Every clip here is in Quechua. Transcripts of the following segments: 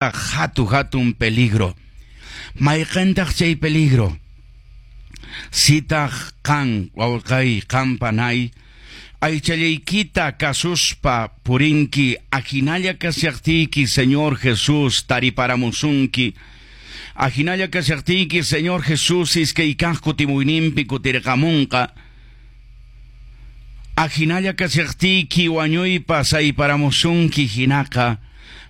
Hatu hatun peligro. Mayqintaq chay peligro? Sitaq qan wawqay, qan panay, aychallaykita kasuspa purinki, ahinalla kashaqtiyki Señor Jesús tariparamusunki. Ahinalla kashaqtiyki Señor Jesús iskay kaq kutimuyninpi kutirqamunqa. Ahinalla kashaqtiyki wañuypas ayparamusunki hinaqa,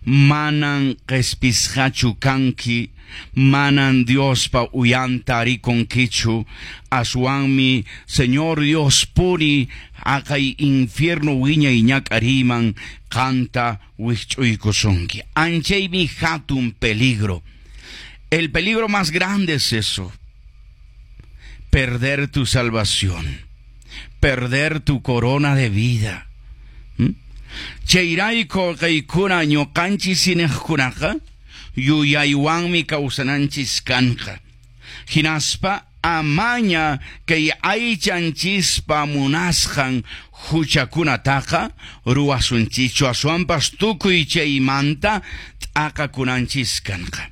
manan qespisqachu kanki, manan Diospa uyanta rikunkichu, aswanmi Señor Dios puni haqay infierno wiñay ñak'ariyman qanta wikch'uykusunki. Anchaymi hatun peligro. El peligro más grande es eso: perder tu salvación, perder tu corona de vida. Chayrayku kaykuna ñuqanchis iñiqkunaqa yuyaywanmi kawsananchis kanqa. Hinaspa amaña kay aychanchispa munasqan huchakunataqa ruwasunchichu, aswanpas tukuy chaymanta t'aqakunanchis kanqa.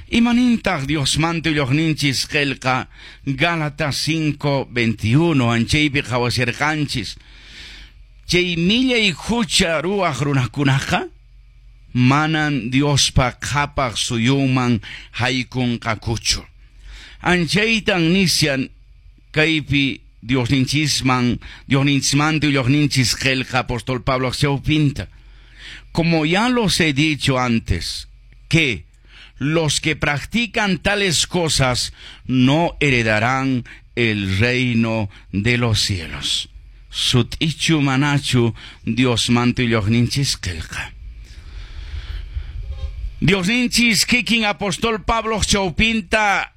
Imanintaq Diosmanta willoqninchis qillqa Gálatas 5:21? Anchaypi qhawasirqanchis. Chay millay hucha ruwaq runakunaqa manan Diospa qhapaq suyunman haykunqakuchu. Anchaytan nishan kaypi Diosninchisman, Diosninchismanta willoqninchis qillqa apóstol Pablo pinta. Como ya los he dicho antes, que los que practican tales cosas no heredarán el reino de los cielos. Sut'ichu manachu Diosmanta willoqninchis qillqa? Diosninchis kikin apóstol Pablo chawpinta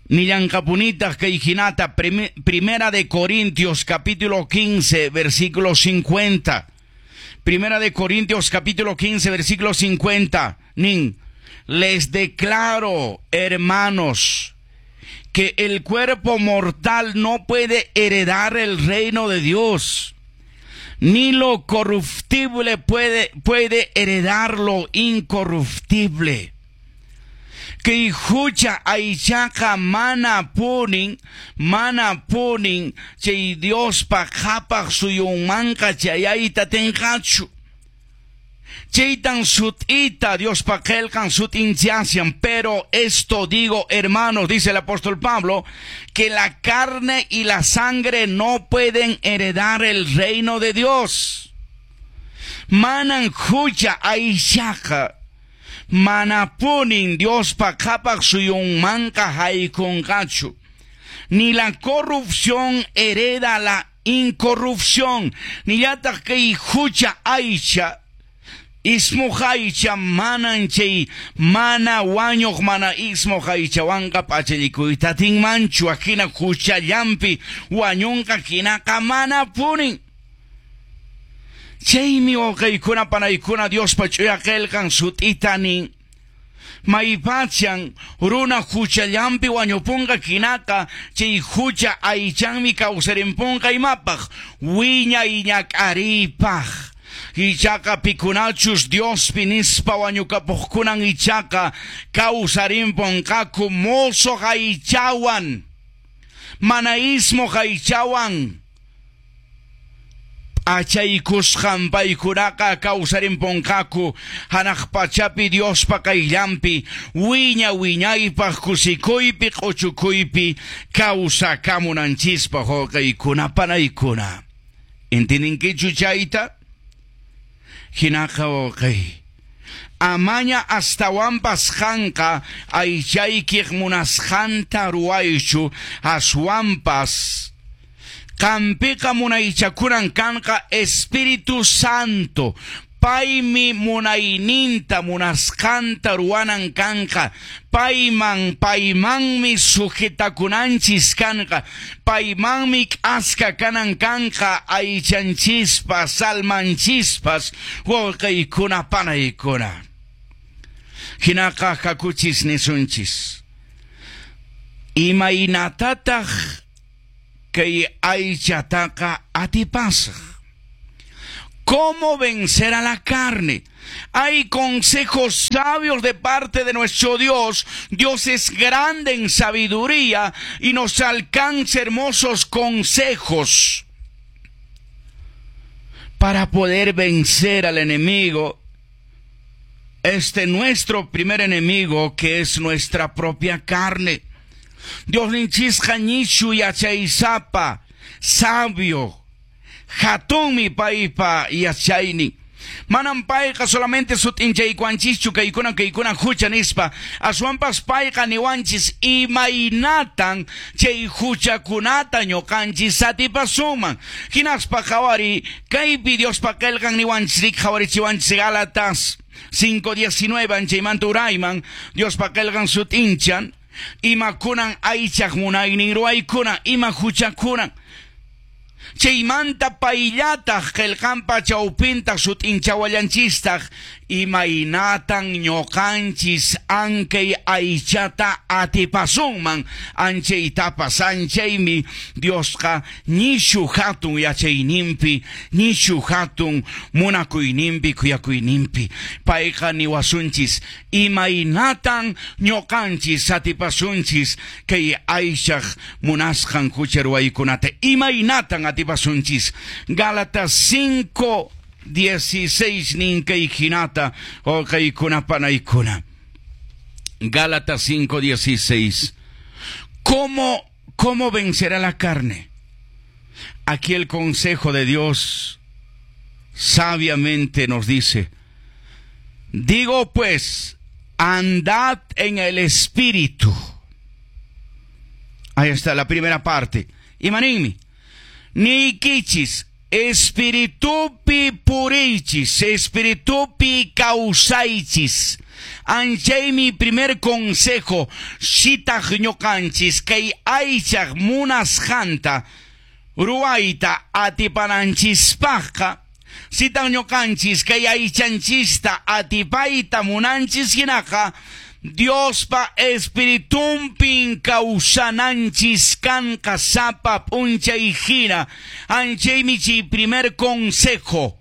nillanqapunitaq kay hinata, Primera de Corintios capítulo 15 versículo 50. Primera de Corintios capítulo 15 versículo 50. Nin, les declaro, hermanos, que el cuerpo mortal no puede heredar el reino de Dios, ni lo corruptible puede heredar lo incorruptible. Kay hucha aychaqa mana punin chay Diospa qhapaq suyunmanqa chayayta atinqachu. Chaytan sut'ita Diospa qillqan sut'inchashan. Pero esto digo, hermanos, dice el apóstol Pablo, que la carne y la sangre no pueden heredar el reino de Dios. Manan hucha aychaqa manapunin Diospa qhapaq suyunmanqa haykunqachu. Ni la corrupción hereda la incorrupción. Nillataq kay hucha aycha, ismuq aycha manan chay mana wañuq mana ismuq aychawanqa p'achallikuyta atinmanchu, ahina huchallampi wañunqa hinaqa manapunin. Chaymi wawqiykuna panaykuna Diospa ch'uya qillqan sut'ita nin. Maypachan runa huchallampi wañupunqa hinaqa chay hucha aychanmi kawsarimpunqa imapaq? Wiñay ñak'ariypaq. Ichaqa pikunachus Diospi nispa wañukapuqkunan ichaqa kawsarimpunqaku mosoq aychawan, mana ismuq aychawan p'achaykusqan paykunaqa kawsarimpunqaku hanaq pachapi Diospa qayllanpi wiña wiñaypaq kusikuypi q'uchukuypi kawsakamunanchispaq. Wawqiykuna panaykuna, ¿entendinkichu chayta? Hinaqa wawqiy, amaña astawanpas qanqa aychaykiq munasqanta ruwaychu, aswanpas qampiqa munaychakunan kanqa Espíritu Santo. Paymi munayninta munasqanta ruwanan kanqa. Paymanmi sujetakunanchis kanqa. Paymanmi k'aska kanan kanqa aychanchispas, almanchispas, wawqiykuna panaykuna. Hinaqa hakuchis nisunchis. Imaynatataq kay aychataqa atipasaq? ¿Cómo vencer a la carne? Hay consejos sabios de parte de nuestro Dios. Dios es grande en sabiduría y nos alcanza hermosos consejos para poder vencer al enemigo. Este nuestro primer enemigo, que es nuestra propia carne. Diosninchisqa nishu yachaysapa, sabio, hatunmi paypa yachaynin. Manam payqa solamente sut'inchaykuwanchischu kaykuna kaykuna hucha nispa, aswanpas payqa niwanchis imaynatan chay huchakunata ñuqanchis atipasunman. Hinaspa qhawari kaypi Diospa qillqan niwanchis qhawarichiwanchis Gálatas 5:19 anchaymanta urayman Diospa qillqan sut'inchan imakunan aychaq munaynin ruwaykuna ima huchakunan. Chaymanta payllataq qillqanpa chawpinta sut'inchawallanchistaq imaynatan ñuqanchis ankay aychata atipasunman anchaytapas anchaymi Diosqa nishu hatun yachayninpi nishu hatun munakuyninpi khuyakuyninpi payqa niwasunchis imaynatan ñuqanchis atipasunchis kay aychaq munasqan hucha ruwaykunata imaynatan atipasunchis. Gálatas 5:16 ninkay hinata wawqiykuna panaykuna. Gálatas 5:16. ¿Cómo vencerá la carne? Aquí el consejo de Dios sabiamente nos dice: digo pues, andad en el Espíritu. Ahí está la primera parte. Imaninmi, niykichis, Espiritupi puriychis, Espiritupi kawsaychis. Anchaymi primer consejo, sitaq ñuqanchis kay aychaq munasqanta ruwayta atipananchispaqqa, sitaq ñuqanchis kay aychanchista atipayta munanchis hinaqa, Diospa Espiritunpin kawsananchis kanqa sapa p'unchay hina. Anchaymi chay primer consejo,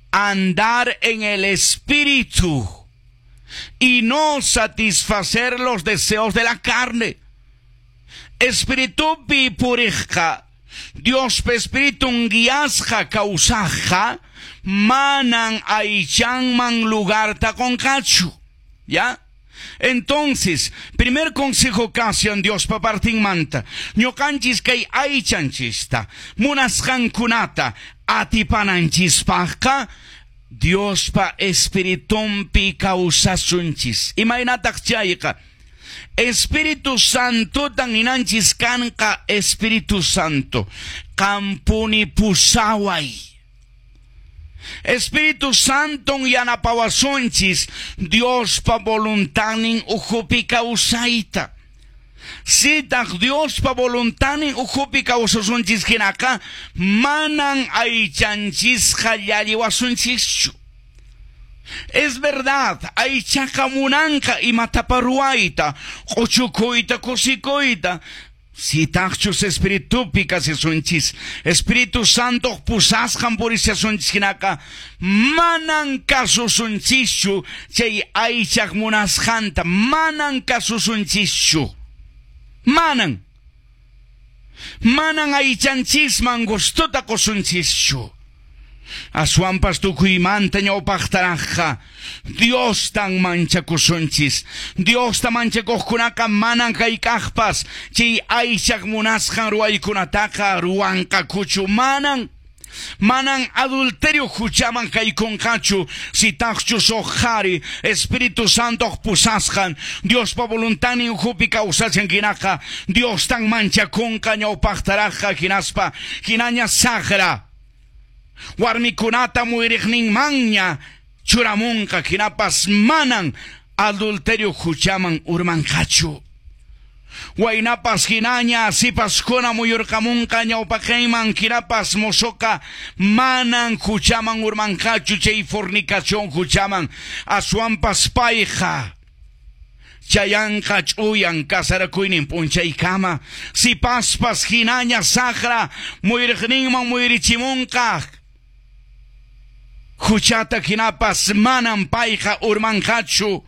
andar en el Espíritu y no satisfacer los deseos de la carne. Espiritupi puriqqa, Diospa Espiritun guiasqa kawsaqqa, manan aychanman lugarta qunqachu. ¿Ya? Entonces, primer consejo kashan Diospa partinmanta, ñuqanchis kay aychanchista, munasqankunata atipananchispaqqa, Diospa Espiritunpi kawsasunchis. Imaynataq chayqa? Espíritu Santotan ninanchis kanqa. Espíritu Santo, qampuni pusaway. Espíritu Santo yanapawasunchis Diospa voluntadnin ukhupi kawsayta. Sitaq Diospa voluntadnin ukhupi kawsasunchis hinaqa, manan aychanchisqa llalliwasunchischu. Es verdad, aychaqa munanqa imatapa ruwayta, q'uchukuyta, kusikuyta. Sitaqchus Espiritupi kasisunchis, Espíritu Santo pusasqan purisiasunchis hinaqa, manan kasusunchischu chay aychaq munasqanta, manan kasusunchischu. Manan. Manan aychanchisman gustota qusunchischu. Aswanpas tukuymanta ñawpaqtaraqqa Diostan manchakusunchis. Diosta manchakuqkunaqa manan hayk'aqpas chay aychaq munasqan ruwaykunataqa ruwanqakuchu. Manan. Manan adulterio huchaman haykunqachu sitaqchus huk qhari Espíritu Santoq pusasqan Diospa voluntadnin ukhupi kawsachan hinaqa Diostan manchakunqa ñawpaqtaraqqa hinaspa hinaña saqra warmikunata muyriqninmanña churamunqa hinapas manan adulterio huchaman urmanqachu. Waynapas hinaña sipaskuna muyurqamunqa ñawpaqinman hinapas mozoqa manan huchaman urmanqachu chay fornicación huchaman, aswanpas payqa chayanqa ch'uyan kasarakuynin p'unchaykama. Sipaspas hinaña saqra muyriqninman muyrichimunqa Huchata hinapas manam payqa urmanqachu.